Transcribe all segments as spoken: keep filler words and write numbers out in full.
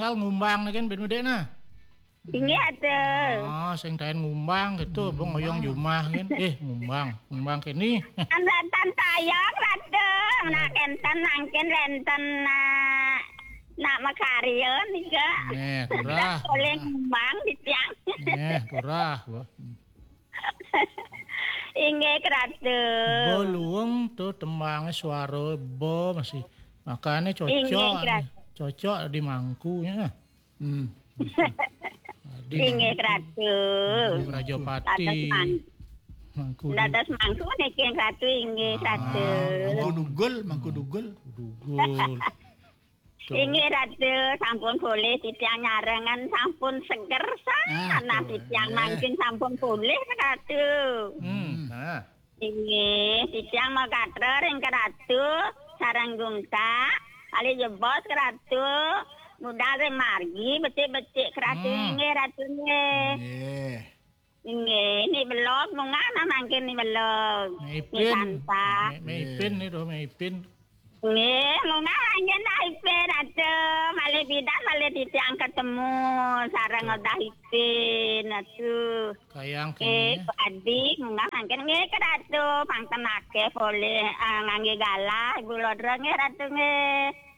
Kal ngumbang nih kan ben medek nah. Inggih, Ratu. Oh, sing taén ngumbang gitu, bong oyong jumah kan. Eh, ngumbang, ngumbang kene. Kan wénten tayang, Ratu. Nak kénten mangkin wénten nak, nak makarya nika. Nggih, turah. Boleh ngumbang titiang. Nggih, turah. Wah. Inggih, Ratu. Bo luwung tuh tembangé suara bo masih. Makanya cocok. Inggih, Ratu. Cocok di mangkunya. Hmm. Inggih, Ratu. Rajapati. Dados mang-, mangku. Dados mangku niki, Ratu, inggih, Ratu. Mangku dugul, mangku dugul. Dugul. Inggih, Ratu, sampun polih titiang nyarengan, sampun seger sanget. Ah, nah, titiang mangkin sampun polih, Ratu. Hmm, nah. Inggih, titiang makatra ring Ratu sareng Gungkak, kalih jebos Ratu, budal ring margi becik-becik Ratu. Hmm. Inggih, Ratu nggih. Nggih. Nggih, ni belog munggah nah mangkin ni belog. Ni Ipin. Santa. Ni, ni Ipin ni doh, ni Ipin. Nggih, munggah mangkin dah Ipin, Ratu. Malih pidan, malih titiang ketemu sareng Ratu. Udah Ipin, Ratu. Kayang eh, kene. Adi, munggah mangkin nggih, Ratu, pangtenake polih, eh, ngangge galah, Ibu Lodra nggih, Ratu nggih.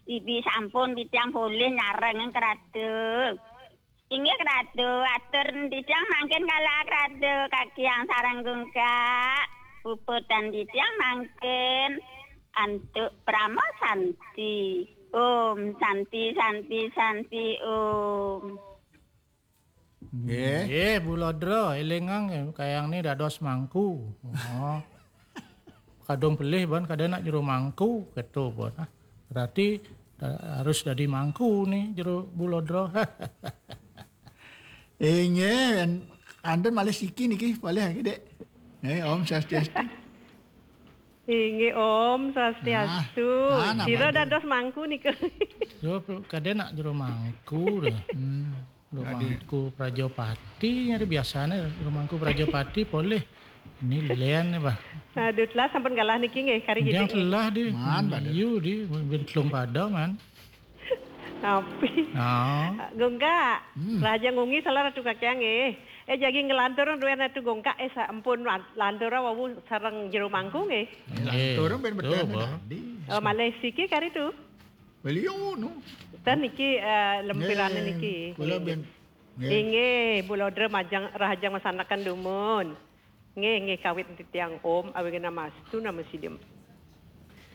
Ibi sampun titiang polih nyareng, Ratu. Inggih, Ratu, atur titiang mangkin galah, Ratu, kakiang sareng Gungkak. Puputang titiang mangkin antuk Parama Santi. Om Santi, Santi, Santi, Om. Nggih. Nggih, Bu Lodra, elingang kayang ni dados mangku. Oh. Kadung pelih ban kada nak jero mangku, keto pun. Ah, berarti da-, harus dadi mangku ni jero Bu Lodra. Inggih, an-, anten malih siki niki, malih lagi, Dek. Eh, Om Swastiastu. Inggih, Om Swastiastu. Nah, nah, sira dados mangku nika. Yo, kada nak jero mangku dah. Hmm. Jero mangku Prajapati, nyari biasane jero mangku Prajapati polih. Ini lian nih, Bah. Aduh, telah sampun galah niki nggih, kari. Yang gitu. Telah di. Man, Bah. Yu di, ben telung pada, man. Tapi. Ah. Gungkak, hmm. Raja ngungi salah Ratu Kakiang nggih. Eh, jagi ngelantur duwe Ratu Gungkak, eh, sampun lan-, lantur wau sareng jero mangku nggih. Nggih. Lantur ben betul, betul Bah. Tadi. Oh, malih siki kari tu. Beliau no. Dan niki, eh, lempirane nggih, niki. Kula ben. Nggih. Inggih, Bu Lodra majeng rahajeng masanaken dumun. Nggih, nggih, kawit titiang Om, awighnamastu namo sidham.